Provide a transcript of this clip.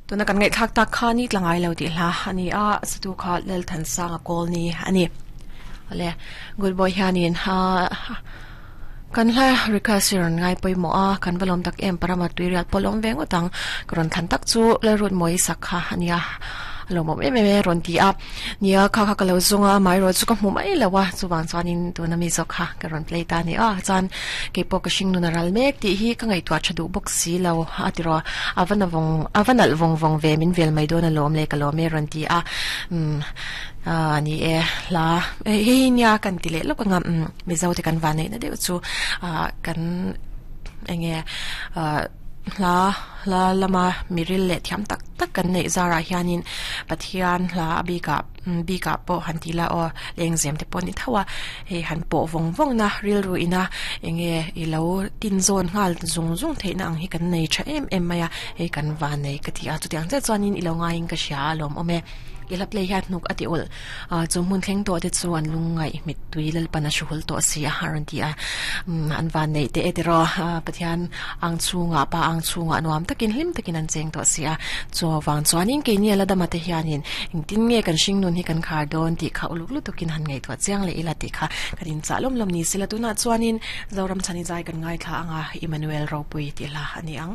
Tuna kan ngaihthlak tak kha ni tla ngai lo tih hla a ni a, a satu kha Lalthansanga Kawlni a ni. Awle, Good Boy hianin kan hla request hi rawn ngai pawimawh a, kan va lawm tak em Parama Tuirial pawh lawm ve ngawt ang. Ka rawn thlan tak chu Lalrutmawii sak kha a nia, a lawmawm em em e rawn ti a. Nia, kha kha ka lo zawng a, amaherawh chu ka hmu mai lo a, chuvang chuanin tuna mi zawk kha ka rawn play ta a ni a, chuan keipawh ka hring nun a ral mek tih hi ka ngaihtuah tha duh bawk si lo a ti rawh, a va na vawng, a va nalh vawng vawng ve min vel mai dawn alawm le ka lawm e rawn ti a, umm aaa ni e hla hei hi nia kan ti leh lawk anga umm Mizo te kan vanneihna deuh chu ah kan eng nge ah hla hla lama miril leh thiam tak tak kan neih zarah hianin Pathian hla a bikah bikah pawh han ti la aw lengzem te pawh a ni tho a hei han pawh vawng vawng na rilru ina enge i lo tin zawn nghal zung zung theihna ang hi kan nei tha em em mai a hei kan van nei ka ti a chutiang chiah chuanin i lo ngaiin ka hria a lawmawm e i hla play hian hnuk a ti ulh. Chu hmun thleng tawh te chu an lungngaih mittui Lalpan a hruhul tawh si a a rawn ti a. An van neih teh e tiraw Pathian ang chhungah Pa ang chhungah nuam takin hlim takin an cheng tawh si a. Chu vang chuanin keini a la dama te hianin engtin nge kan hringnun hi kan khar dawn tih kha uluk lutukin han ngaihtuah chiang leh ila tih kha kan inchah lawm lawm ni sela tunah chuanin Zoram chhani zai kan ngaithla anga Emmanuel Ropui tih hla a ni ang.